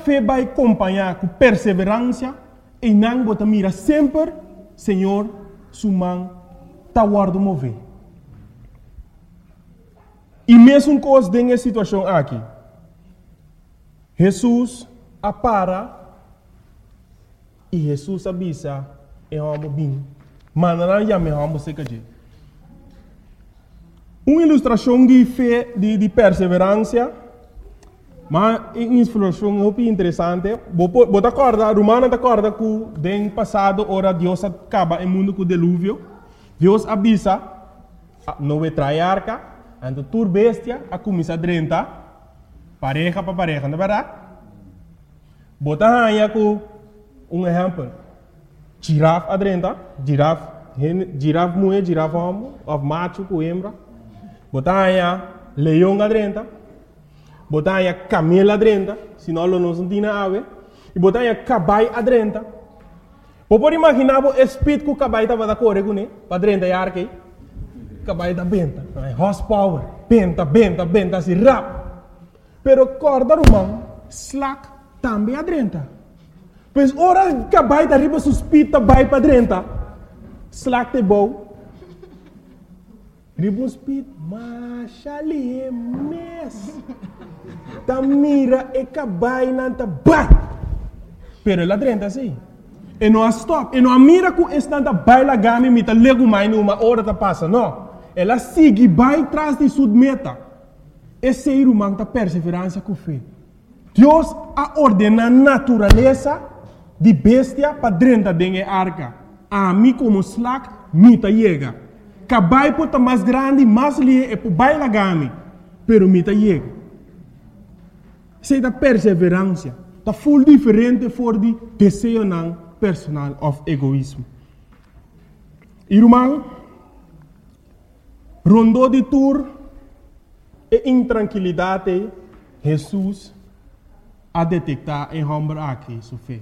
fe bai kompañá ku perseveransia, einan bo ta mira semper Señor su man ta wòrdu mové. I mesun kos den e situashon aki. Hesus a para i Hesus a bisa e hòmber bin. Manda nan yama e hòmber serka dje. Un ilustrashon di fe di di perseveransia, ma un ilustrashon hopi interesante. Bo por bo ta kòrda, rumannan ta kòrda ku den pasado ora Dios a kaba e mundu ku deluvio, Dios a bisa Noe traha e arka, anto tur bestia a kuminsá drenta pareha pa pareha, no ta bèrdat? Bo ta haña ku un ehèmpel, Giraf a drenta, giraf, hende, giraf muhé, giraf hòmber, òf machu ku hembra. Bo ta haña leon a drenta, bo ta haña kamel a drenta, si no lo nos no tin awe. I bo ta haña kabai a drenta. Bo por imaginá bo e speed ku kabai tabata kore kuné pa drenta e arka ei? Kabai ta benta, horsepower, benta, benta, benta asi rap. Pero kòrda ruman, slak tambe a drenta. Pues ora kabai ta riba su speed ta bai pa drenta, slak ta bou riba un speed masha lihé mes. Ta mira e kabainan ta bai. Pero el a drenta sí. E no a stòp. E no a mira ku esnan ta bai laga mi, mi ta legumai numa ora ta pasa. No. El a sigui bai tras di su meta. Esei, ruman, ta perseveransia ku fe. Dios a ordená naturalesa di bestia pa drenta den e arka. Ami komo slak, mi ta yega. Kabai por ta mas grandi, mas lihé e por bai laga mi, pero mi ta yega. Esei ta perseveransia. Ta ful diferente for di deseonan personal òf egoismo. I ruman. Rondó di tur e intrankilidat ei, Hesus a detektá e hòmber aki su fe.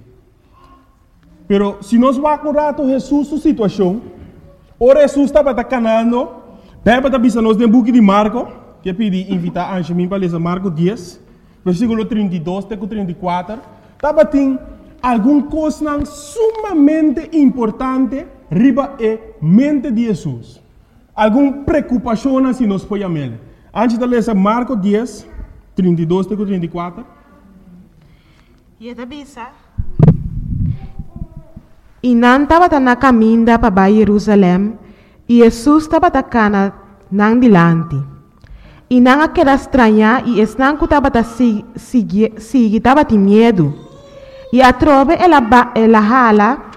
Pero si nos wak un ratu Hesus su situashon, ora Hesus tabata kanando, Beibel ta bisa nos den buki di Marko, ke pidi invitá Anshemin pa lesa Marko dies, versíkulo 32 te ku 34, tabatin algun kosnan sumamente importante riba e mente di Hesus. Algun preokupashonnan si nos por yam'el. Anchi ta lesa Marko dies, 32 te ku 34. I e ta bisa. I nan tabata na kaminda pa bai Yerusalèm, i Hesus tabata kana nan dilanti. I nan a keda strañá i esnan ku tabata sigui tabatin miedu. I atrobe el a el a hala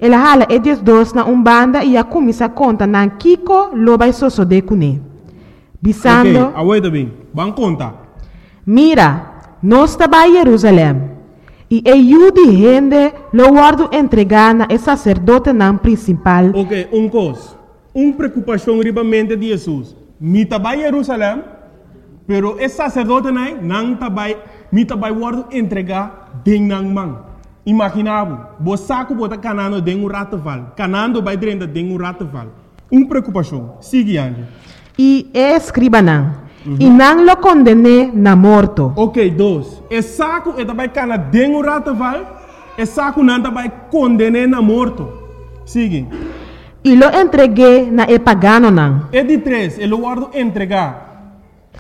El a hala e diesdos na un banda i a kuminsá konta nan kiko lo bai sosodé kuné, bisando. Oké, awor ta bin. Ban konta. Mira, nos ta bai Yerusalèm, i e Yu di hende lo wòrdu entregá na e saserdotenan prinsipal. Oké, un kos. Un preokupashon riba mente di Hesus. Mi ta bai Yerusalèm, pero e saserdotenan ei, nan ta bai, mi ta bai wòrdu entregá den nan man. Imaginá bo, bo sa ku bo ta kanando den un ratteval, kanando bai drenta den un ratteval. Un preokupashon. Sigui, Angie. I e eskribanan, i nan lo konden'é na morto. Oké, dos. E sa ku e ta bai kana den un ratteval, e sa ku nan ta bai konden'é na morto. Sigui. I lo entreg'é na e paganonan. E di tres, e lo wòrdu entregá.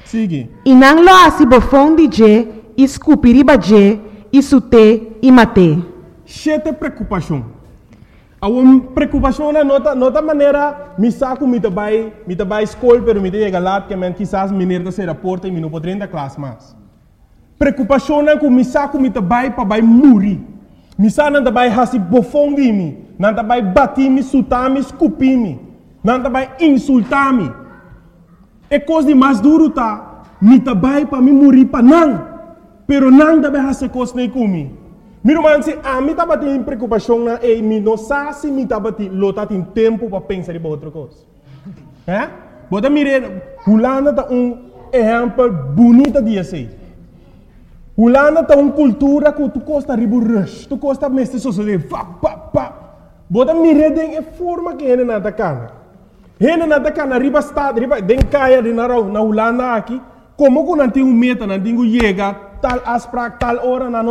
Sigui. I nan lo hasi bofon di dje i skupi riba dje i sut'é i mat'é. Shete prekupashon. Awor prekupashonnan no ta no ta manera mi sa ku mi ta bai mi ta bai skol pero mi ta yega lat ke men kisas meneer ta sera porta i mi no por drenta klas mas. Preokupashonnan ku mi sa ku mi ta bai pa bai muri. Mi sa nan ta bai hasi bofon di mi, nan ta bai bati mi, suta mi, skupi mi, nan ta bai insultá mi. E kos di mas duru ta, mi ta bai pa mi muri pa nan, pero nan ta bai hasi e kosnan ei ku mi. Mi ruman, si ami tabatin preokupashonnan ei, mi no sa si mi tabatin lo tatin tempu pa pensa riba otro kos. Hè? Bo ta mira, Hulanda ta un ehèmpel bunita di esei. Hulanda ta un kultura ku tur kos ta riba un rush, tur kos ta mester sosodé vap, pap, pap. Bo ta mir'é den e forma ku hendenan ta kana. Hendenan ta kana riba stad, riba den kaya di na na Hulanda aki, komo ku nan tin un meta, nan tin ku yega tal afsprak, tal ora, nan no.